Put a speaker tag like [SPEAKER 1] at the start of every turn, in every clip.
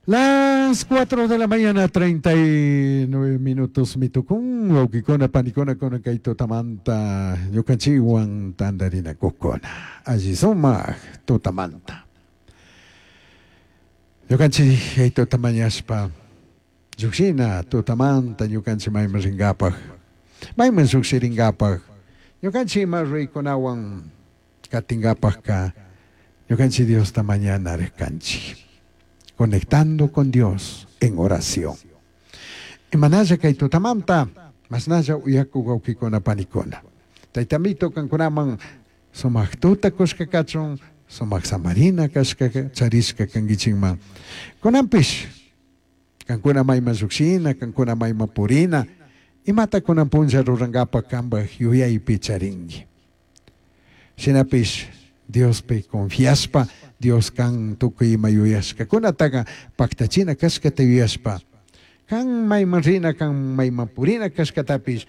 [SPEAKER 1] Las 4 de la mañana, 39 minutos mitukun, wawkikuna, panikuna, kunan kay tutamanta, ñukanchikwan tantarinakukuna, alli sumak tutamanta. Ñukanchik kay tuta mañashpa, llukshina tutamanta ñukanchik mayman rinkapak, mayman llukshirinkapak, ñukanchik ima ruraykunawan katinkapakka, ñukanchik Diosta mañana kanchik. Conectando con Dios en oración. Imanalla kay tutamanta, masnalla uyakuk wawkikuna panikuna. Taytamito kankunaman sumak tuta kushka kachun, sumak samarina kashka charishka kankichikman. Kunanpish, kankuna mayman llukshina, kankuna mayman purina, imata kunan punlla rurankapak kanpak yuyaypi charinki. Shinapish Diospi confiashpa, Dios kan tukuy ima yuyashkakunataqa paktachina kashkata yuyashpa, kan mayman rina, kan mayman purina kashkatapish,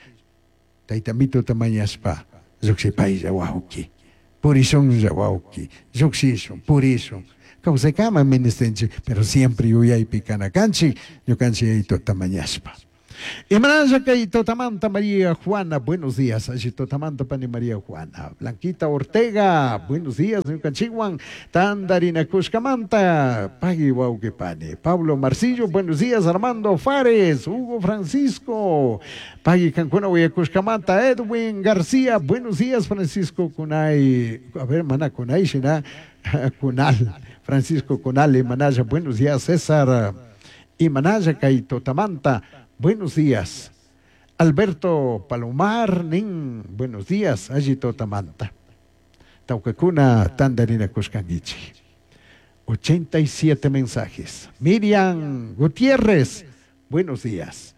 [SPEAKER 1] Taytamituta mañashpa, llukshipaylla wawki, purishunlla wawki, llukshishun, purishun. Kawsaykama ministinchik, pero siempre yuyaypi kana kanchik, ñukanchik Yayituta mañashpa. Imanalla kay tutamanta María Juana, buenos días. Alli tutamanta pani María Juana. Blanquita Ortega, buenos días. Ñukanchikwan tantarinakushkamanta. Pagui wawqi pani. Pablo Marcillo, buenos días. Armando Fares, Hugo Francisco. Pagui kankuna uyakushkamanta. Edwin García, buenos días. Francisco Kunay, a ver, mana Kunay, shina, Kunal. Francisco Kunal, Imanalla, buenos días. César, Imanalla kay tutamanta. Buenos días. Alberto Palomar, nin, buenos días, alli tutamanta. Tawkakuna tantarinakushkankichik. 87 mensajes. Miriam Gutiérrez, buenos días.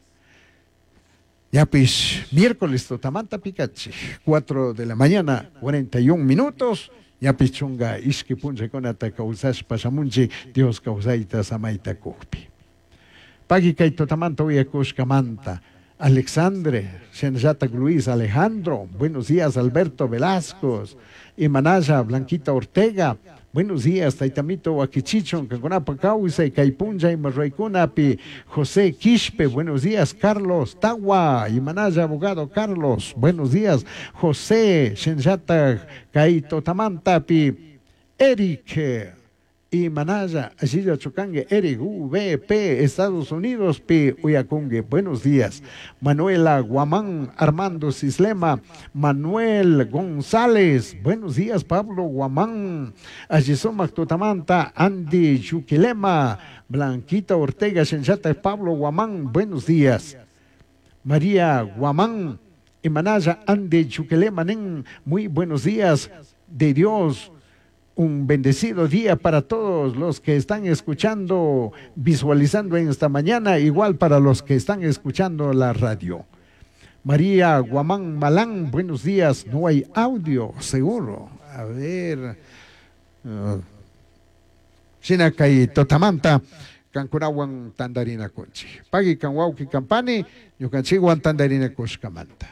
[SPEAKER 1] Ñapish, miércoles tutamanta picachi, 4 de la mañana, 41 minutos. Ñapish chunga ishki punllakunata kawsashpa shamunchik, Dios kawsayta samayta kukpi. Pagui kay tutamanta uyakushkamanta. Alexandre, Shenyatak Luis Alejandro, buenos días Alberto Velasco, Imanaya Blanquita Ortega, buenos días Taytamito Wakichichon, kankunapa kawsay, kay punlla ima ruraykunapi, José Quispe, buenos días Carlos Tawa, Imanaya abogado Carlos, buenos días José Shenyatak kay tutamantapi, Eric Imanaya, Ashilla Chucangue, Eric VP, Estados Unidos, P. Uyakungue, buenos días. Manuela Guamán, Armando Cislema, Manuel González, buenos días, Pablo Guamán, Ayisomac Tutamanta, Andy Chuquilema, Blanquita Ortega, Shenchata, Pablo Guamán, buenos días. María Guamán, Imanaya, Andy Chuquilema, nen, muy buenos días de Dios. Un bendecido día para todos los que están escuchando, visualizando en esta mañana, igual para los que están escuchando la radio. María Guamán Malán, buenos días. No hay audio, seguro. A ver. Shinakay totamanta, kankunawan tandarina kunchi. Pagui kan wawki kampani, ñukanchikwan tandarina kushkamanta.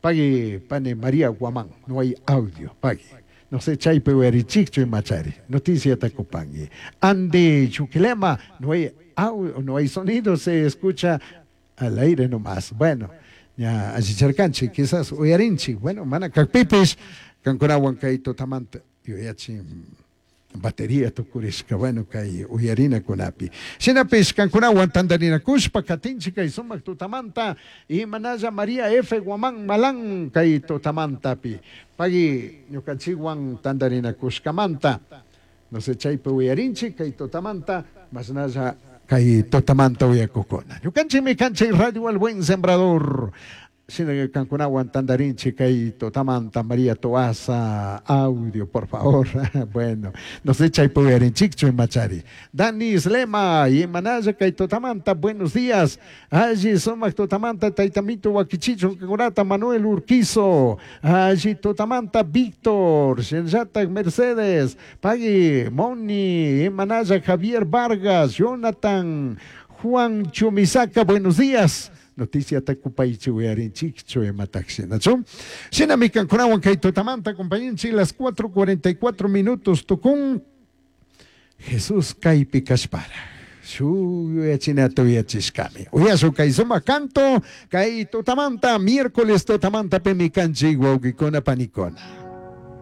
[SPEAKER 1] Pagui pani María Guamán, no hay audio, pagui. No sé, chaypi uyarichikchu imachari. Noticia takupangi. Andy Chuquilema, no hay audio, no hay sonido, se escucha al aire nomás. Bueno, ya allicharkanchik, quizás uyarinchik. Bueno, mana kakpipis, kankunawan kay tutamanta yuyachin batería tukurishka, bueno, kay uyarinakunapi. Shinapish kankunawan tantarinakushpa katinchik kay sumak tutamanta, imanalla María F. Guamán Malán kay tutamantapi. Pagui ñukanchikwan tantarinakushkamanta. No sé, chaypi uyarinchik kay tutamanta, masnalla kay tutamanta uyakukuna. Ñukanchikmi kanchik Radio El Buen Sembrador. Shina kankunawan tantarinchik kay tutamanta, María Toaza, audio, por favor. Bueno, no sé, chaypi uyarinchikchu imachari. Dani Slema, imanalla kay tutamanta, buenos días. Alli sumak tutamanta, Taytamito Wakichicho, kankunata, Manuel Urquizo. Alli tutamanta, Víctor, Shenyatak Mercedes, Pagui, Moni, imanalla Javier Vargas, Jonathan, Juan Chumisaca, buenos días. Noticia takupaychi uyarinchikchu imataxinachu. Shinami kankunawan kay tutamanta, compañinchi, las 4:44 minutos tukun. Jesús kaypi kashpara. Shuj yuyachinata uyachishcami. Uyashun kay sumak canto, kay tutamanta, miércoles tutamantapimi kanchik wawkikuna panikuna.